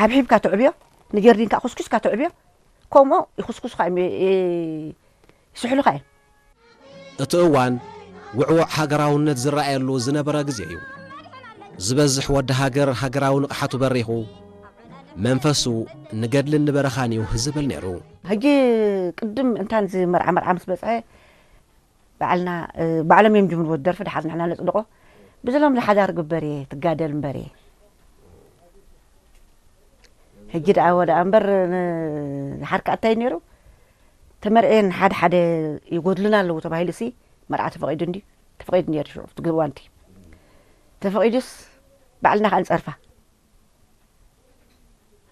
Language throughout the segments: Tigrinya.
ኣብሒብካ ተዕብዮ፣ ንጀርዲንካ ኩስኩስካ ተዕብዮ፣ ከምኡ ይኹስኩስኻ እዮም፣ ይ-፣ ይ-፣ ይስሕሉኻ እዮም። እቲ እዋን ውዕዉዕ ሃገራውነት ዝረኣየሉ ዝነበረ ግዜ እዩ። ዝበዝሕ ወዲ ሃገር ሃገራዊ ንቕሓቱ በሪኹ፣ መንፈሱ ንገድልን ንበረኻን እዩ ዝብል ነይሩ። ሕጂ ቅድም እንታን እዚ መርዓ መርዓ ምስ በጽሐ ባዕልና፣ እ፣ ባዕሎም እዮም ጅምርዎ ደርፊ ድሓር ንሕና ነጽድቆ። ብዝሎም ዝሓዳር ግበር እየ ትጋደል እምበር እየ። ሕጂ ደኣ ወደኣ እምበር ን-፣ ዝሓርካ እንታይ ነይሩ? ተመርዕየን ሓደ ሓደ ይጎድሉና ኣለዉ ተባሂሉ ሲ መርዓ ተፈቒዱ እንዲ-፣ ተፈቒዱ ነይሩ ሽዑ ኣብቲ ግዋንቲ። ተፈቒዱስ ባዕልና ከኣ ንጸርፋ።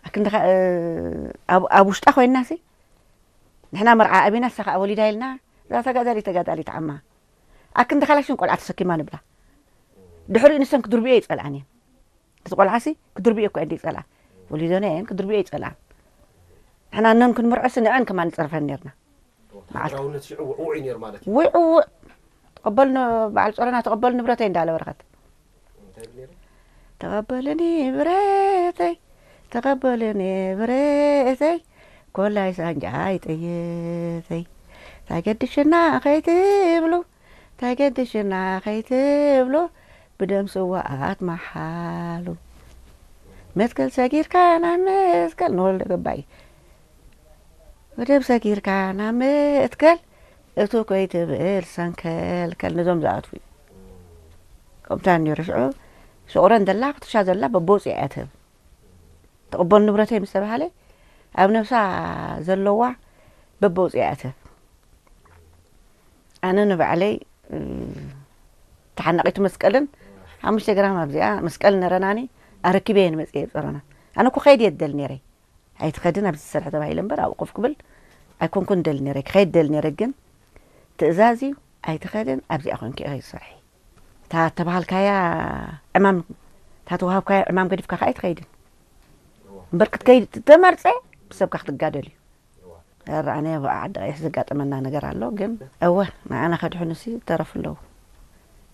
ኣክንዲ ከ-፣ እ፣ ኣብ፣ ኣብ ውሽጣ ኮይንና ሲ ንሕና መርዓ ኣቢና ንሳ ከኣ ወሊዳ ኢልና፣ እዛ ተጋዳሊት ተጋዳሊት ዓማ። ኣክንዲ ካላሽን ቆልዓ ተሰኪማ ንብላ። ድሕሪኡ ንሰን ክድርብዮ ይጸልኣን እየን። እቲ ቆልዓ ሲ ክድርብዮ እኮ እንዲ ይጸልኣ። ወሊደን እየን ክድርብዮ ይጸልኣን። ንሕና ነን ክንምርዖ ሲ ንዐን ከማን ንጸርፈን ነርና። መዓልቲ ሃገራውነት ሽዑ ውዕውዕ እዩ ነይሩ ማለት እዩ። ውዕውዕ። ተቐበል ን-፣ በዓል ጾረና ተቐበል ንብረተይ እንዳለ በረኸት። እንታይ ይብል ነይሩ? ተቐበልኒ ብረተይ፣ ተቐበልኒ ብረተይ፣ ኮላይ ሳንጃይ ጥይተይ። ታገድሽና ከይትብሉ፣ ታገድሽና ከይትብሉ፣ ብደም ስዋኣት መሓሉ። መትከል ሰጊርካ ናብ መትከል ንወልደ ገባይ። መደብ ሰጊርካ ናብ መትከል እቱ ኮይትብል ሰንከልከል ነዞም ዝኣትዉ እዩ። ከምታ ነይሩ ሽዑ ሽቑረን ዘላ ክትሻ ዘላ በቦ ውፅእ እያ ትህብ። ተቐበሉ ንብረተይ ምስ ተባሃለ ኣብ ነብሳ ዘለዋ በቦ ውፅእ እያ ትህብ። ኣነ ንባዕለይ፣ እ፣ ተሓናቒቱ መስቀልን ሓሙሽተ ግራም ኣብዚኣ መስቀል ነረናኒ ኣረኪበ እየ ንመፅእ እየ ጸረና። ኣነ እኮ ከይድ እየ ደል ነይረይ። ኣይትኸድን ኣብዚ ዝሰርሐ ተባሂለ እምበር ኣብኡ ኮፍ ክብል ኣይኮንኩን ደል ነይረ። ክኸይድ ደል ነይረ ግን ትእዛዝ እዩ። ኣይትኸድን ኣብዚኣ ኮንኪ ኢኺ ዝሰርሒ። እታ ተባሃልካያ ዕማም፣ እታ ተዋሃብካያ ዕማም ገዲፍካ ከኣ ኣይትኸይድን። እምበር ክትከይድ ተመርጸ ብሰብካ ክትጋደል እዩ። ኧረ ኣነ ኣብ ዓዲ ቀይሕ ዘጋጠመና ነገር ኣሎ ግን እወ ንዓና ከድሕኑሲ ተረፉ ኣለዉ።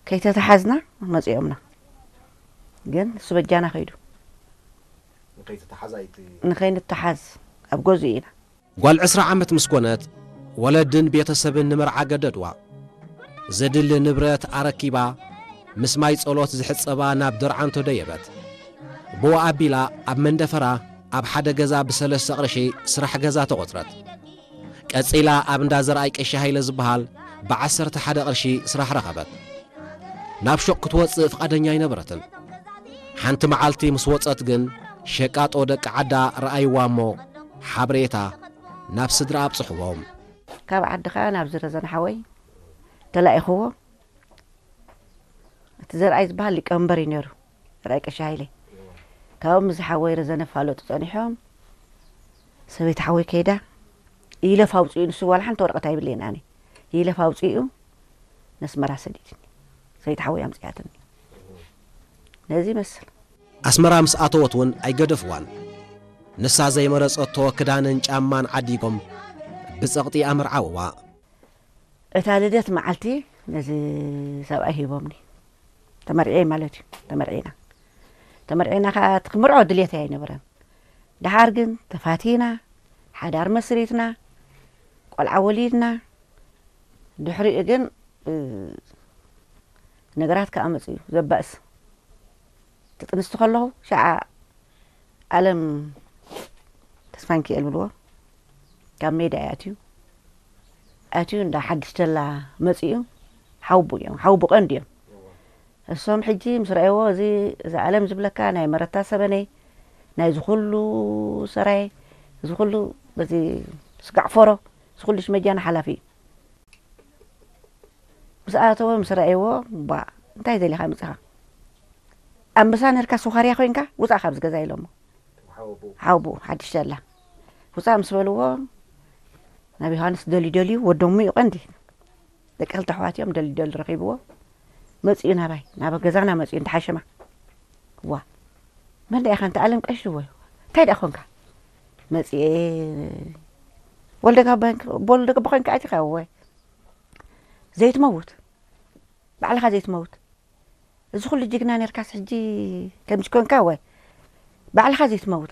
ከይተተሓዝና መጺኦምና። ግን እሱ በጃና ከይዱ። ንኸይትተሓዝ ኣይቲ- ንኸይንተሓዝ ኣብ ገዝኡ ኢና። ጓል ዕስራ ዓመት ምስ ኮነት፣ ወለድን ቤተሰብን ንመርዓ ገደድዋ። ዘድሊ ንብረት ኣረኪባ፣ ምስ ማይ ጸሎት ዝሕጸባ ናብ ደርዓንቶ ደየበት። ብኡ ኣቢላ ኣብ መንደፈራ ኣብ ሓደ ገዛ ብሰለስተ ቅርሺ ስራሕ ገዛ ተቖጽረት። ቀጺላ ኣብ እንዳ ዘርኣይ ቀሺ ሃይለ ዝበሃል ብዓሰርተ ሓደ ቅርሺ ስራሕ ረኸበት። ናብ ሹቕ ክትወጽእ ፍቓደኛ ኣይነበረትን። ሓንቲ መዓልቲ ምስ ወጸት ግን ሸቃጦ ደቂ ዓዳ ረኣይዋ እሞ ሓበሬታ ናብ ስድራ ኣብጽሕዎም። ካብ ዓዲ ኸኣ ናብ ዝረዘን ሓወይ ተላኢኽዎ። እቲ ዘርኣይ ዝበሃል ሊቀመንበር እዩ ነይሩ። ዘርኣይ ቀሺ ሃይለ። ካብኡ ምስ ሓወይ ረዘነ ፋለጡ ጸኒሖም። ሰበይቲ ሓወይ ከይዳ ይለፍ ኣውጺኡ፣ ንሱ ዋላ ሓንቲ ወረቐት ኣይብለይን ኣነ። ይለፍ ኣውጺኡ ነስመራ ሰዲድኒ። ሰበይቲ ሓወይ ኣምጺኣትኒ። ነዚ ይመስል። ኣስመራ ምስ ኣተወት እውን ኣይገደፍዋን። ንሳ ዘይመረጸቶ ክዳንን ጫማን ዓዲጎም ብጸቕጢ ኣመርዓውዋ። እታ ልደት መዓልቲ ነዚ ሰብኣይ ሂቦምኒ። ተመርዕየ ማለት እዩ። ተመርዒና። ተመርዒና ኸዓ እቲ ክምርዖ ድልየተይ ኣይነበረን። ደሓር ግን ተፋቲና፣ ሓዳር መስሪትና፣ ቆልዓ ወሊድና። ድሕሪኡ ግን፣ እ፣ ነገራት ከኣ መጺኡ ዘባእስ። ትጥንስቲ ከለኹ ሸዓ ኣለም ተስፋንኪኤል ብልዎ ካብ ሜዳ እዩ ኣትዩ። ኣትዩ እንዳ ሓድሽ ተላ መጺኡ ሓውቡ እዮም። ሓውቡ ቀንዲ እዮም። እሶም ሕጂ ምስ ረኣይዎ እዚ፣ እዚ ኣለም ዝብለካ ናይ መረታ ሰበነይ፣ ናይ ዝኹሉ ሰራይ፣ እዚ ኩሉ በዚ ስጋዕ ፎሮ፣ እዚ ኩሉ ሽመጃና ሓላፊ እዩ። ምስ ኣተወ ምስ ረኣይዎ፣ "ባ፣ እንታይ ደሊኻ መጺኻ? ኣንበሳ ነርካ ስዃርያ ኮይንካ? ውጻእ ካብዚ ገዛ" ኢሎሞ። ሓውቡ። ሓውቡ፣ ሓድሽ ተላ። ውጻእ ምስ በልዎ፣ ናብ ዮሃንስ ደልዩ ደልዩ፣ ወዶሙ እዩ ቀንዲ። ደቂ ክልተ ኣሕዋት እዮም፣ ደልዩ ደልዩ ረኺብዎ። መጺኡ ናባይ፣ ናብ ገዛና መጺኡ፣ እንተ ሓሸማ። "ዋ፣ መን ደኣ ኢኻ? እንተ ኣለም ቀሺ ወይ? እንታይ ደኣ ኮንካ?" መጺኤ፣ "ወልደ ጋባ፣ ወልደ ጋባ ኮይንካ ኣቲኻ ወይ? ዘይትመውት፣ ባዕልኻ ዘይትመውት። እዚ ኩሉ ጅግና ነርካስ ሕጂ ከምዚ ኮንካ ወይ? ባዕልኻ ዘይትመውት."